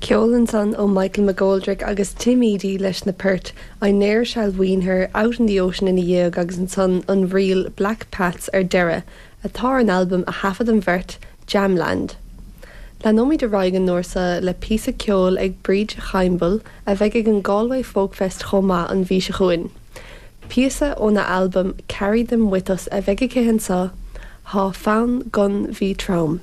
Ceol ansan ó Michael McGoldrick agus Tim Edey leis na poirt I Ne'er Shall Wean Her, Out in the Ocean ina dhiaidh agus ansan an ríl Black Pats ar deireadh, atá ar an albam a thaifead an bheirt, Jamland. Leanóimid ar aghaidh an uair seo le píosa ceoil ag Bríd Chaimbeul a bheidh ag an Galway Folk Fest chomh maith an mhí seo chugainn. Píosa óna albam Carry Them With Us a bheidh aici anseo, Thá Fonn 'Gon Bhí Trom.